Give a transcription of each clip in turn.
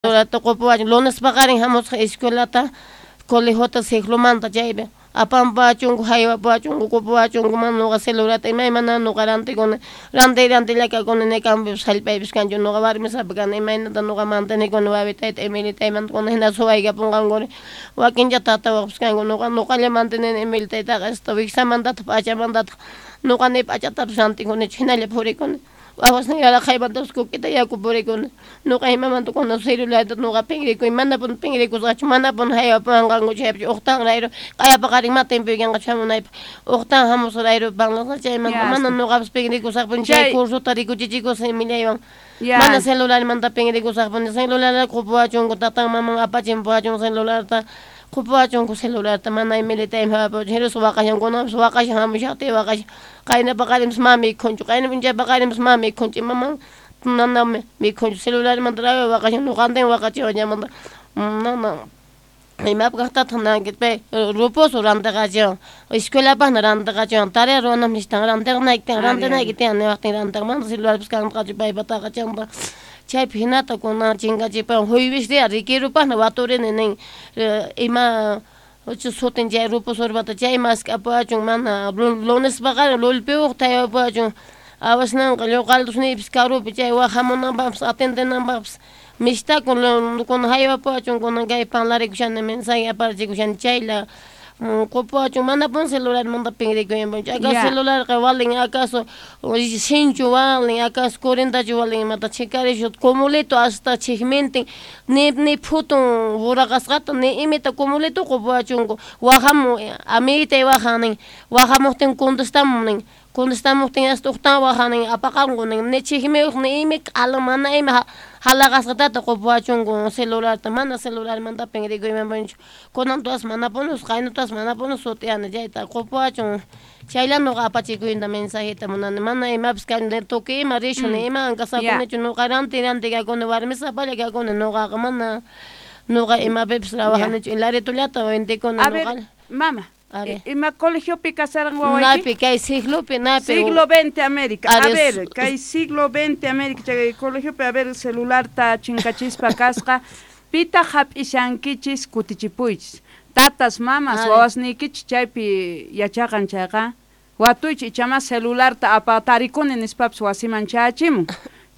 Tukupuwachun lunes paqarin hamusqa escuelata colegiota ciclomanta chaypi apanpuwachunku haywapuwachunku qupuwachunku mana nuqa celularta imaymana nuqa rantikuni rantiy rantilla kakuni ni campopipas hallp'aypis kanchu nuqa warmisapa kani imaynata nuqa mantenikuni wawitayta Emilitaymanta kuna hina suwaykapunqankuri wakincha tatawaqpis kanku nuqa nuqalla mantenini Emilitaytaqa hasta wiksamantataq p'achamantataq nuqa ni p'achatapis rantikunichu hinalla purikuni wawasniyqa raqaymantapas kukita yaku purikuni nuqa imamanta kuna celularta nuqa pinrikuy manapuni pinrikusqachu manapuni haywapuwanqankuchu chaypichu uqtan rayru q'aya paqarin ma tiempoykanqachu hamunaypaq uqtan hamusqa rayru parlasqa chaymanta mana nuqapas pinrikusaqpuni chay cursota rikuchichikusaq Emiliaywan mana celularmanta pinrikusaqpuni celularta qupuwachunku tatan maman apachinpuwachun celularta qupuwachunku celularta mana Emilitaymi haywapuwachun hinaspa waqashan kunanpas waqashan hamushaqtiy waqashan qayna paqarinpas mana mikhunchu qayna p'unchay paqarinpas mana mikhunchu imaman mana mikhunchu celularmanta rawi waqashan nuqantin waqachiwan chaymanta mana imapaq kaqtataq nanki pay rupusu rantiqachiwan escuelapaqna rantiqachiwan tarea ruwananpaq nishtan rantiqnayki tiyan rantinayki tiyan niwaqtin rantiq mana celularpis kanqachu paypataqa chaymanta chaypi hinata kunan chinkachipuwan jueves rikirupaqna waturini nin ima sutin chay rupusurpata chay mask'apuwachun mana lunes paqarin lulpiwuqta haywapuwachun awasnanqa lluqaltusniypis karupi chay waq hamunanpaqpis atendenanpaqpis mishtakun kunan haywapuwachun kunan kay parlarikushani mensaje aparachikushani chayla qupuwachun manapuni celularmanta pinrikuymanchu acaso celularqa valin acaso sinchu valin acaso 40tachu valin imata chikarishu cumulito hasta chikmintin ni phutun buraqasqata ni imita cumulito qupuwachunku waqamun amiguitay waqan nin waqamuqtin contestamun nin contestamuqtin hasta uqtan waqan nin apaqanku nin ni chikmiyuq ni imi q'ala mana ima halaqasqatata qupuwachunku celularta mana celularmanta pinrikuymanpunichu kunan tuwas manapuni qayna tuwas manapuni sut'iyani chayta qupuwachun chaylla nuqa apachikuyta mensajeta munani mana imapis kani tukuy ima rishun ni imawan kasakunichu nuqa ranti ranti kakuni warmisapalla kakuni nuqaqa mana nuqa imapipis trabajanichu hilaritullata ventikuni nuqalla. Mama, ima colegiopi kasarqan wawayki? Napi kay siglopi napi. Siglo XX América. A ver, kay siglo XX América chay colegiopi a ver celularta chinkachispa kasqa pitaq hap'ishankichis kutichipuychis. Tatas, mamas, wawasniykichis chaypi yachaqan chayqa watuychis ichama celularta apatarikuni nispapis wasiman chayachimun.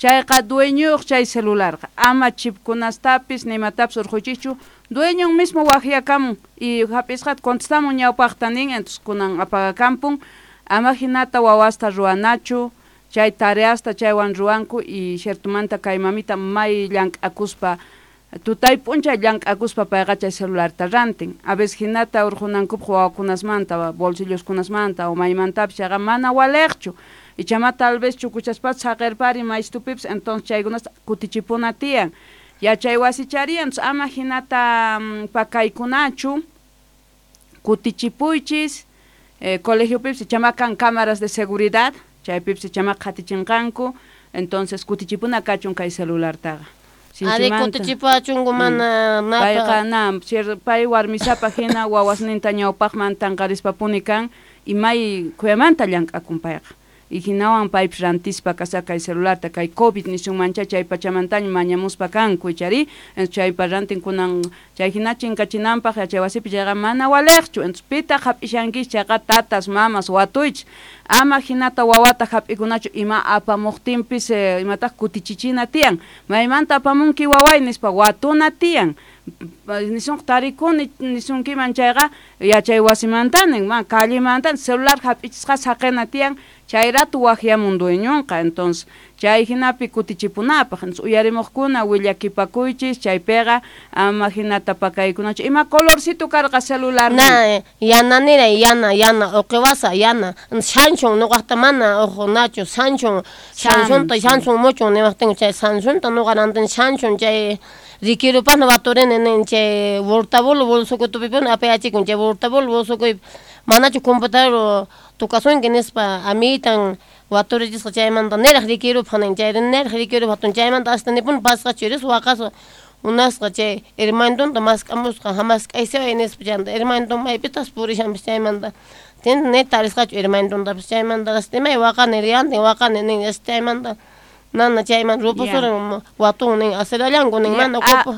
Chayqa dueñuyuq chay celularqa ama chipkunastapis nimatapis urquychischu dueñon mismo waqyakamun y hap'isqata contestamun ñawpaqta nin entonces kunan apagakampun ama hinata wawasta ruwanachu chay tareasta chaywan ruwanku y ciertomanta kay mamita may llank'akuspa tutay p'unchay llank'akuspa payqa chay celularta rantin a veces hinata urqunankupaq wawakunasmanta bolsilloskunasmanta o maymantapis chayqa mana waliqchu ichama tal vez chukuchaspapas saqirpari maystupipis entonces chaykunasta kutichipuna tiyan yachay wasichariyan entonces ama hinata pakaykunachu kutichipuychis colegiopipis ichama kan cámaras de seguridad chaypipis ichama qhatichinqanku entonces kutichipuna kachun kay celulartaqa. Ari kutichipuwachunku mana payqa na pay warmisapa hina wawasninta ñawpaqman tanqarispapuni kan y may khuyamanta llank'akun payqa y hinawan paypis rantispa kasqa kay celularta kay COVID nisunmancha chay pachamantaña mañamuspa kanku ichari chaypa rantin kunan chay hina chinkachinanpaq yachay wasipi chayqa mana waliqchu entonces pitaq hap'ishankichis chayqa tatas mamas watuychis ama hinata wawata hap'ikunachu ima apamuqtinpis imataq kutichichina tiyan maymanta apamunki waway nispa watuna tiyan nisunqa tarikuni nisunkiman chayqa yachay wasimantani man callemantani celular hap'ichisqa saqina tiyan chay rato waqyamun dueñonqa entonces chay hinapi kutichipunapaq entonces uyarimuqkuna willakipakuychis chaypiqa ama hinata pakaykunachu ima colorcito karqa celular na yananiray yana yana uqiwasa yana Samsung nuqaqta mana uqunachu Samsung Samsungta Samsung muchun niwaqtinku chay Samsungta nuqa rantini Samsung chay rikirupaqna waturini nin chay burtabulu bolsukutupipuni apayachikun chay burtabulu bolsukuypi manachu computador tukasunki nispa amiguitan waturichisqa chaymanta niraq rikirupaq nin chay niraq rikirupaq chaymanta hasta nipuni pasqachu ris waqasqa unasqa chay hermanitonta mask'amusqa mask'aysiway nispa chaymanta hermaniton maypitas purishanpis chaymanta ni tarisqachu hermanitontapis chaymanta hasta imay waqani riyantin waqani nin chaymanta Nana chayman rupusurin watun nin aserallanku nin mana Ya, kupu.